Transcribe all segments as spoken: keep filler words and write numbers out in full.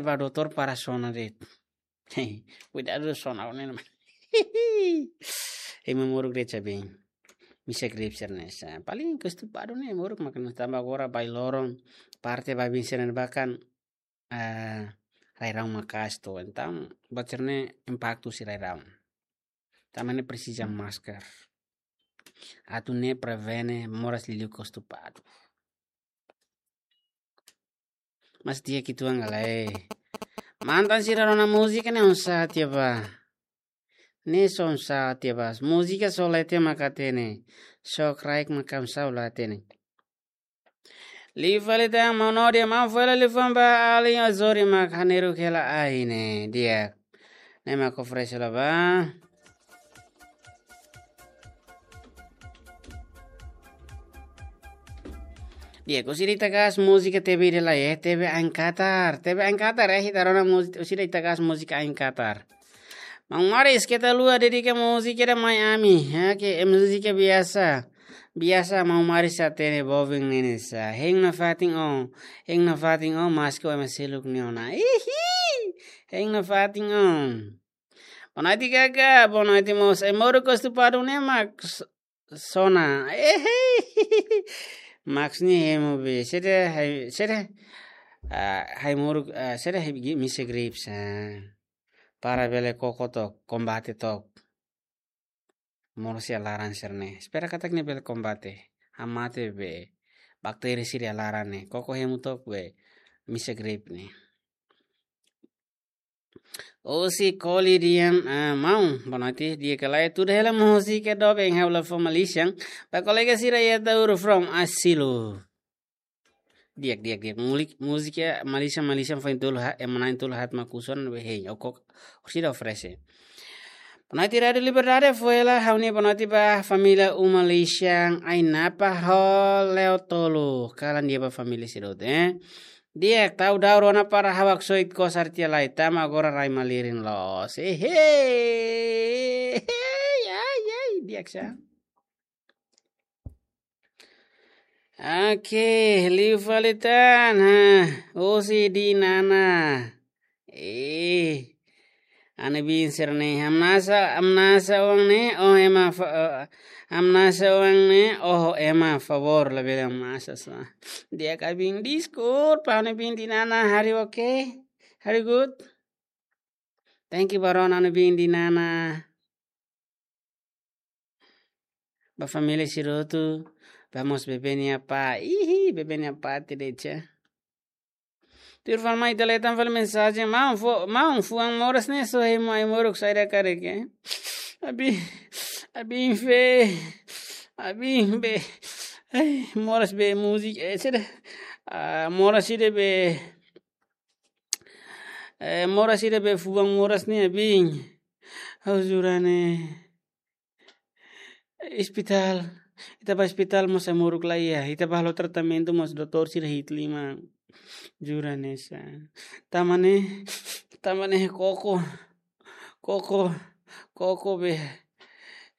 ba doutór para sona de'it. Kuidadu sona ne'e. Ema moruk de'it sa bem. Misa grip sira-ne'e sa. Paling kostupadu ne'e moruk maka tanba agora ba loron parte ba bin sira-ne'e bakan, ah, rai-rahun maka'as to'o. Entaun buat sira-ne'e impaktu husi rai-rahun. Tanba ne'e presiza masker. Atu ne'e prevene moras liuliu kostupadu. Mas di'ak uitoan ka lae. Mantan sira rona múzika ne'e oinsá tiha ba. Ne'e só oinsá tiha ba. Múzika só la tiha maka hatene. Só kraik maka oinsá la hatene. Liu fali tan maun Nodi, maun fali liafuan ba alin Azori mak haneru hela ai ne'e. Di'ak. Ne'e mak oferese la ba. Di'ak, husi ida Itakaas múzika T V ida lai, eh, T V Ain Qatar. T V Ain Qatar, eh, ita rona múzika, husi ida Itakaas múzika Ain Qatar. Maun Maris, keta haluha dedika múzika ida mai ami. Ya, ke, eh, múzika biasa. Biasa maun Maris hatene bobing ne'e sa. Hein nafatin on. Hein nafatin on, maski o ema seluk nia ona. Ihi! Hein nafatin on. Boa noite, Gaga. Boa noite, moço. Ai-moruk kostupadu ne'e mak s-, sona. Ehe. Max ni hemu be. Sede hai, sede. Ah, ai-moruk, ah, sede hai gi-, misa grips. Ah. Para bele koko took, kombate took. Moras iha laran sira-ne'e. Espera katak nia bele kombate. Hamate be. Bakteri sira iha laran ne'e. Koko hemu took be. Misa grip ne'e. Osi koli dian, ah, maun, boa noite, di'ak ka lae, tuda hela múzika doben ha'u la fó Malaysian, ba kolega sira iha Tauru from Asilo. Di'ak, di'ak, di'ak, mulik, múzika Malaysian, Malaysian foin tolu ha, ema na'in tolu haat mak husu ona be hein, okok, orsida oferese. Boa noite, Rádio Liberdade, foin hela, ha'u-nia boa noite ba família Uma Malaysian, Ainapa ho Leo Tolu, kalan di'ak ba família sira hotu, eh. Di'ak, tau daur ona para ha'u haksoit kosar tiha lai, tanba agora rai malirin loos. Ehe. Ai, ai, di'ak sa. Oke, liu fali tan, ha. Osi di nana. Eh. Anu bin sira-ne'e, hamnasa, hamnasa oan ne'e, oh ema fa-, eh, hamnasa oan ne'e, oh ema favór, labele hamnasa sa. Di'ak abin, deskulpa, anu bin di nana, hari oke? Hari good? Thank you ba rona anu bin di nana. Ba família sira hotu, ba mós bebé nia apá. Ihi, bebé nia apá te decha. Tuir fali mai ita leten fali mensajen, maun fo-, maun fuan moras ne'e só hemu ai-moruk saida karik, eh. Abin, abin feen, abin be. Ai, moras be múzika, eh, sede. Ah, moras ida be. Eh, moras ida be fuan moras ne'e abin. Ha'u jura ne'e. Ospitál. Ita ba ospitál mós ai-moruk la iha. Ita ba halo tratamentu mós doutór sira hi'it liman. Jura ne'e sa. Tanba ne'e, tanba ne'e koko. Koko, koko be.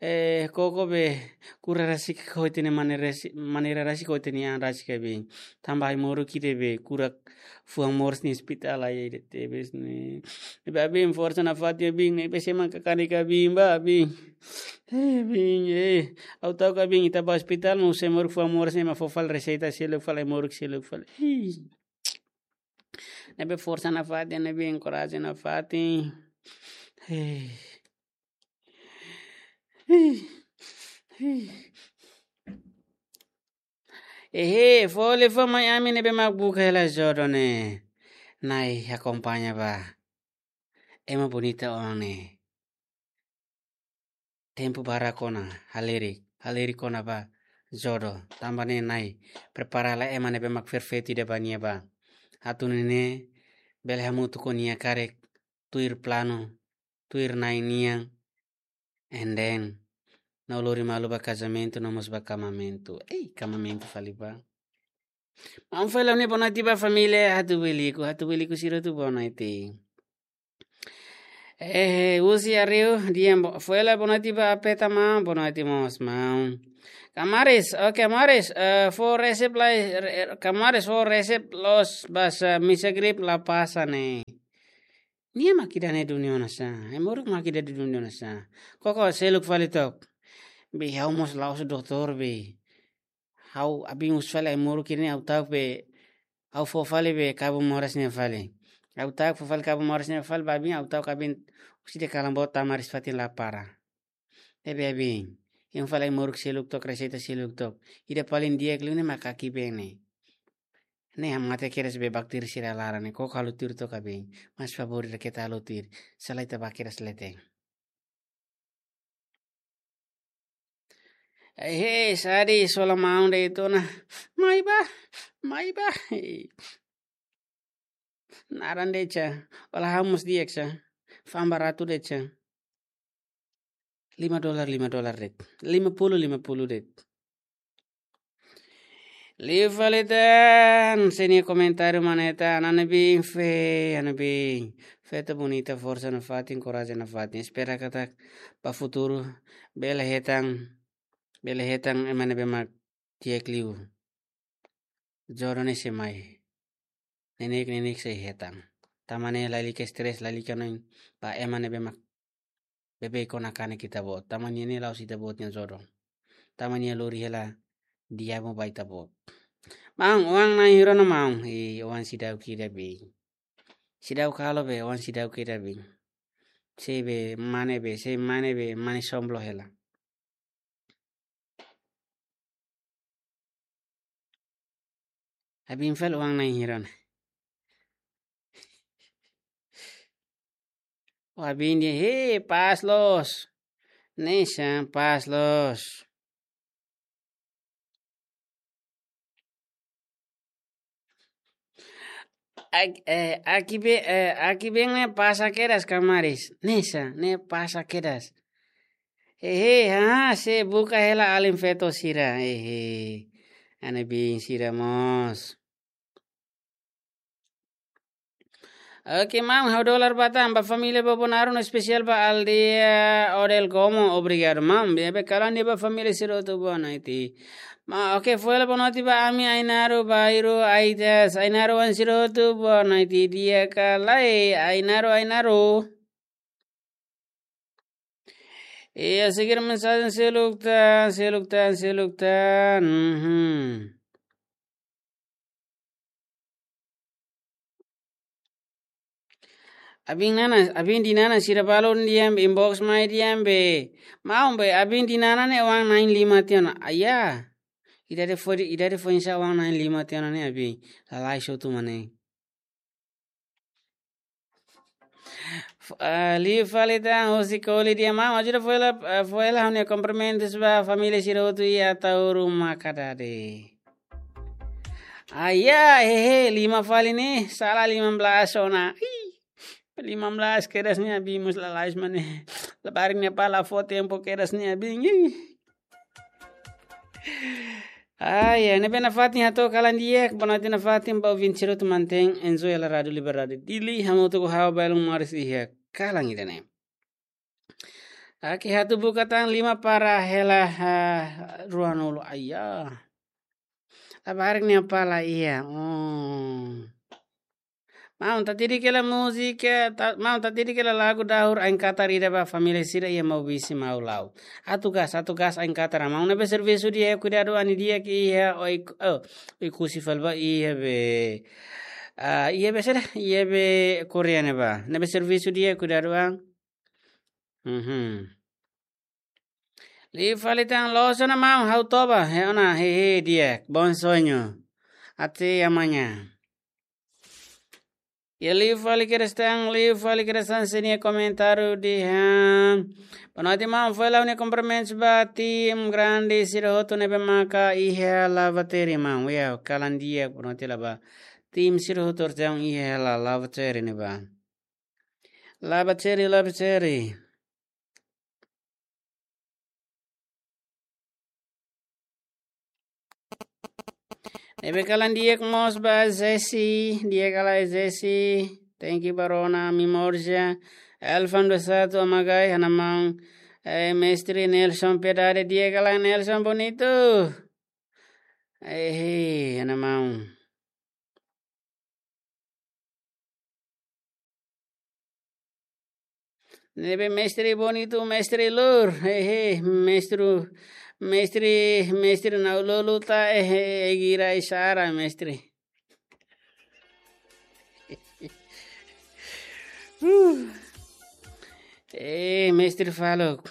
Eh, koko be. Kura rasik ho ita-nia maneira rasi-, maneira rasik ho ita-nia an rasik abin. Tanba ai-moruk ida be. Kura fuan moras nia ospitál ai ida tebes ne'e. Ne'ebé abin forsa nafatin abin, ne'ebé sé mak hakanek abin ba abin. Eh, abin, eh. Ha'u ta'uk abin ita ba ospitál, maibé ai-moruk fuan moras ne'e ema fó fali reseita seluk fali, ai-moruk seluk fali. Ih. Ne'ebé forsa nafatin, ne'ebé enkoraja nafatin. Eh. Ih. Ih. Ehe, fó liafuan mai ami ne'ebé mak buka hela jodoh ne'e. Na'i akompaña ba. Ema bonita oan ne'e. Tempu barak ona, halerik, halerik ona ba jodoh. Tanba ne'e Na'i prepara hela ema ne'ebé mak perfeitu ida ba nia ba. Atu nune'e bele hamutuk ho nia karik tuir planu, tuir Na'i nian. And then, no lori malu ba kazamentu, no mós ba kamamentu. Ei, kamamentu fali ba. Maun fali ha'u-nia boa noite ba família Hatubuiliku, Hatubuiliku sira hotu boa noite. Eh, husi Arriu, di'ak, bo-, foin hela boa noite ba Apeta, maun, boa noite mós, maun. Kamaris, oke, Kamaris, eh, fó resep lai, re-, Kamaris, fó resep loos ba sá, misa grip la pasa ne'e. Nia mak ida-ne'e duni ona sá, ai-moruk mak ida duni ona sá. Koko seluk fali took. Be ha'u mós la'ós doutór be. Ha'u abin husu fali ai-moruk ne'e ha'u ta'uk be, ha'u fó fali be kabun moras ne'e fali. Ha'u ta'uk fó fali kabun moras ne'e fali ba abin, ha'u ta'uk abin husi de'it kalan boot tama res fatin la para. Ne'ebé abin, hein fali ai-moruk seluk took, reseita seluk took. Ida paling di'ak liu ne'e mak Akibeen ne'e. Ne'e hamate kedas be bakteri sira laran ne'e, koko halo tuir took abin. Mas favór ida keta halo tuir. Sala ita bá kedas leten. Eh, eh, sadi sola maun de'it ona. Mai bá, mai bá. Naran de'it sá. Ola hamus di'ak sá. Fa'an baratu de'it sá. Lima dolar, lima dolar de'it. Lima puluh, lima puluh de'it. Liu fali tan, sira-nia komentáriu mana ita, Ana Nebi, fé, Ana Nebi. Feto bonita, forsa nafatin, korajen nafatin. Espera katak ba futuru bele hetan, bele hetan ema ne'ebé mak di'ak liu. Jodoh ne'e sei mai. Neineik, neineik sei hetan. Tanba ne'e lalika stress, lalika hanoin ba ema ne'ebé mak beibeik ona kanek ita-boot. Tanba nia ne'e la'ós ita-boot nia jodoh. Tanba nia lori hela di'ak ba ita-boot. Maun, oan na'in hira ona maun. Eh, oan seidauk ida be. Seidauk halo be, oan seidauk ida be. Sé be mane be, sé mane be, mane somblo hela. Abin fali oan na'in hira ona. Abin dehan, hei, pás loos. Ne'e sá, pás loos. Ak-, eh, Akibeen, eh, Akibeen ne'e pasa kedas Kamaris. Ne'e sá, ne'e pasa kedas. Hehe, ha, sé buka hela alin feto sira. Hehe. Ana Nebi sira mós. Oke, maun, ha'u dolar ba tan, ba família Bobonaro no espesiál ba aldeia Odel Como, obrigadu, maun. Be, be, kalan di'ak ba família sira hotu, boa noite. Ma, oke, fó hela boa noite ba ami, Ainaro, Bairu, Aitas, Ainaro, oan sira hotu, boa noite, di'ak ka lae, Ainaro, Ainaro. Iha, seger mensajen seluk tan, seluk tan, seluk tan. Mhm. Abin Nana, abin di Nana sira balun di'ak be, inbox mai di'ak be. Maun be, abin di Nana ne'e oan na'in lima tiha ona. Aya. Ida de'it foin, ida de'it foin sá oan na'in lima tiha ona ne'e abin. Lalais hotu mak ne'e. F-, ah, liu fali tan husi Koli di'ak, maun, ajuda fó hela, ah, fó hela ha'u-nia kumprimentus ba família sira hotu iha Ataúru Makadade. Aya, hehe, lima fali ne'e, sala lima belas ona. Ih, lima belas kedas ne'e abin mós lalais mak ne'e. Labarik nia pala fó tempu kedas ne'e abin. Ih. Ai, ai, ne'ebé nafatin hato'o kalan di'ak, boa noite nafatin ba ouvinte sira hotu, mantein enjoy hela Rádio Liberdade Dili, hamutuk ho ha'u Bailung Morris iha kalan ida-ne'e. Oke, ha'u atu buka tan lima para hela, ah, ruanulu, aya. Labarik nia pala iha, oh. Maun, tatidik hela múzika, ta-, maun, tatidik hela lagu dahur ain katar ida ba família sira iha Maubisse, Maulao. Atu gas, atu gas ain katar, maun, ne'ebé servisu di'ak, kuidadu an di'ak iha, Oe-, oh, Oekusi fali ba iha be. Ah, iha be saida, iha be Korea ne'ebá. Ne'ebé servisu di'ak, kuidadu an. Mhm. Liu fali tan, loos ona maun, ha'u toba, he ona, hehe, di'ak, bom sonho. Até amanhã. Iha, liu fali kedas tan, liu fali kedas tan, sira-nia komentáriu dehan. Boa noite maun, fó hela ha'u-nia kumprimentus ba tim grande sira hotu ne'ebé maka iha Lavatere maun. Iha, kalan di'ak, boa noite hela ba tim sira hotu ne'ebé iha La-, Lavatere ne'ebá. Lavatere, Lavatere. Ne'ebé kalan di'ak mós ba Jesse, di'ak ka lae Jesse. Thank you ba rona, memória. Elfan dua satu Amagai, ha'u-nia maun. Eh, Mestre Nelson Pedade, di'ak ka lae Nelson Bonito? Eh, ha'u-nia maun. Ne'ebé Mestre Bonito, Mestre Lur, hehe, Mestre, Mestre, Mestre Naululu ta, hehe, Egira Isara, Mestre. Uh. Eh, Mestre Faluk.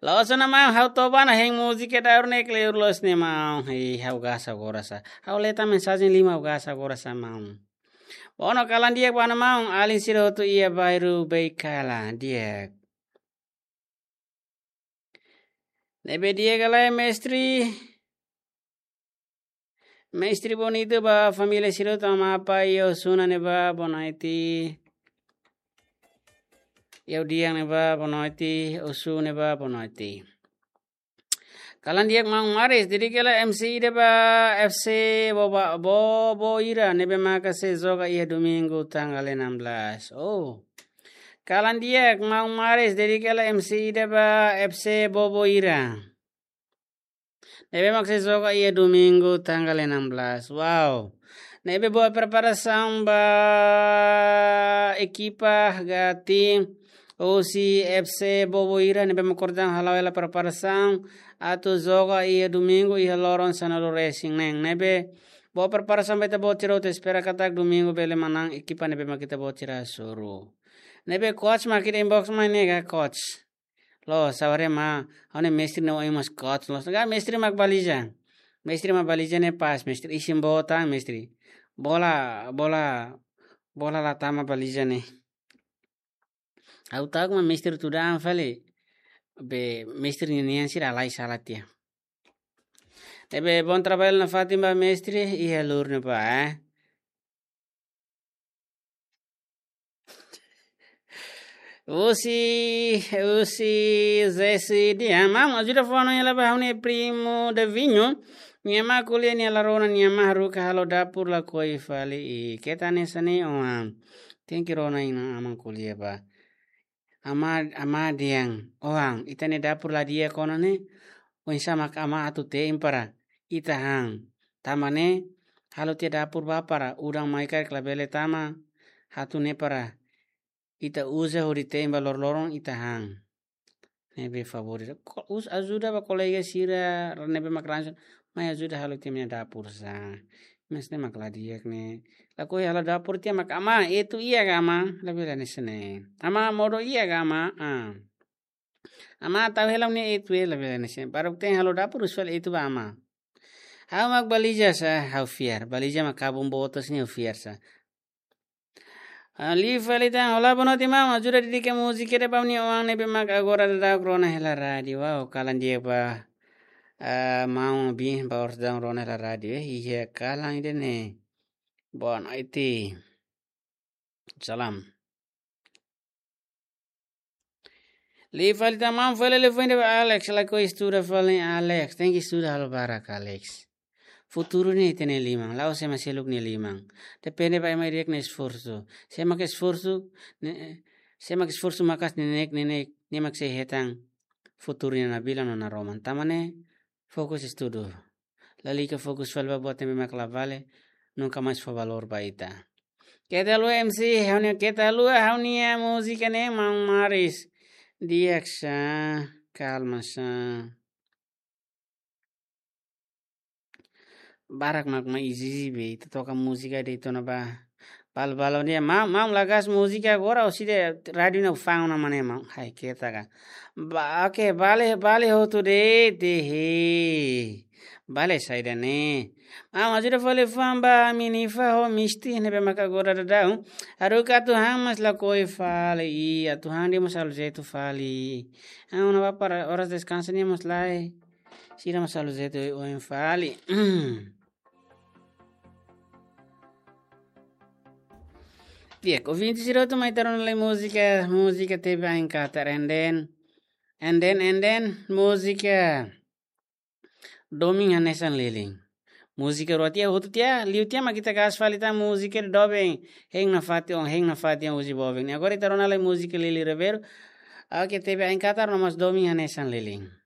Loos ona maun, ha'u toba ona hein múzika daur ne'e kleur loos ne'e maun. Ih, ha'u gasta agora sá. Ha'u lee tan mensajen lima ha'u gasta agora sá maun. Bono kalan di'ak ba ha'u-nia maun, alin sira hotu iha bairru Beikala, di'ak. Ne'ebé di'ak ka lae Mestre. Mestre Bonito ba família sira hotu, Ama Apa, iha Osuna ne'ebá, boa noite. Iha Udiang ne'ebá, boa noite. Osu ne'ebá, boa noite. Kalan di'ak maun Maris, dedika lai M C ida ba F C Bobo, Boboira, ne'ebé maka sei joga iha domingu tanggal enam belas. Oh. Kalan di'ak maun Maris, dedika lai M C ida ba F C Boboira. Ne'ebé mak sei joga iha domingu tanggal enam belas. Wow. Ne'ebé boa preparasaun ba ekipa gati husi F C Boboira ne'ebé mak kordang hala'o hela preparasaun atu joga iha domingu iha loron sanulu-resin-neen. Ne'ebé boa preparasaun ba ita-boot sira hotu, espera katak domingu bele manán ekipa ne'ebé mak ita-boot sira hasoru. Ne'ebé coach mak ita inbox mai ne'e ka coach. Loos, sabar ya maun, ha'u-nia Mestre ne'e oin mós coach loos. Ka Mestre mak baliza. Mestre mak baliza ne'e pas, Mestre. Isin boot an, Mestre. Bola, bola, bola la tama baliza ne'e. Ha'u ta'uk mak Mestre tuda an fali. Be Mestre ninian sira halai sala tiha. Ne'ebé bom trabalho nafatin ba Mestre iha Lur ne'ebá, eh. Husi, husi Zesi dia, maun ajuda fó hanoin hela ba ha'u-nia primu Davinho. Nia amá ko'alia nia la rona, nia amá haruka halo dapur lakohi fali. I keta hanesan ne'e oan. Tenke rona nia amá ko'alia ba. Amá, amá dehan, oan, ita-nia dapur la di'ak ona ne'e. Oinsá mak amá atu te'in para ita han. Tanba ne'e, halo tiha dapur bá para udan mai karik labele tama, atu ne'e para ita uza hodi te'in ba loroloron ita han. Ne'ebé favór. Ko-, us-, ajuda ba kolega sira, ne'ebé mak ránsiu, mai ajuda halo tiha ami-nia dapur sá. Mas ne'e mak la di'ak ne'e. Lakohi halo dapur tiha mak amá, etu iha ka amá, labele hanesan ne'e. Amá modo iha ka amá, ah. Amá tau hela ne'e etu hela bele hanesan ne'e. Baruk te'in halo dapur usual etu ba amá. Ha'u mak baliza sá, ha'u fiar. Baliza mak kabun botas ne'e ha'u fiar sá. Ah, liu fali tan, olá, boa noite, maun. Ajuda dedika múzika ida ba ha'u-nia oan ne'ebé mak agora daudaun rona hela rádiu. Wow, kalan di'ak ba, ah, maun bin ba oras daudaun rona hela rádiu. Eh, iha kalan ida-ne'e. Boa noite. Salam. Liu fali tan maun, fali liu fali ba Alex, lakohi estuda fali Alex. Tenke estuda halo barak Alex. Futuru ne'e ita-nia liman, la'ós ema seluk nia liman. Depende ba ema ida-idak nia esforsu. Se ema ke esforsu, ne'e, se ema ke esforsu maka'as ne'e, ne'e, ne'e, ne'e mak sei hetan futuru nia nabilan no naroman. Tanba ne'e, fokus estudu. Lalika fokus fali ba buat ne'ebé mak la vale, nunka mais fó valór ba ita. Keta haluha M C, ha'u-nia, keta haluha ha'u-nia múzika ne'e maun Maris. Di'ak sá, kalma sá. Barak mak mai ezije be, ita toka múzika de'it ona ba. Bal, bal, dia, maun, maun, la gasta múzika agora, ou se de rádiu ne'e fang ona maun. Hai, keta ka. Ba, oke, bale, bale hotu de'it, he. Bale saida ne'e. Maun, ajuda fali fó ba Minifa ho Misti, ne'ebé maka agora daudaun. Haruka atu han mas lakohi fali, i atu han de'it mós halo jeitu fali. Ah, ona ba para oras deskansa ne'e mós lae. Sira mós halo jeitu oioin fali. Di'ak, ouvinte sira hotu mai ita rona lai múzika, múzika tebe ain katar, and then, and then, and then, múzika Domin Hanesan Lilin. Múzika rua tiha, hotu tiha, liu tiha mak ita gás fali tan múzika doben, hein nafatin, hein nafatin husi boben. Agora ita rona lai múzika Lili Ribeiro, ah, ke tebe ain katar no mas domin hanesan Lili.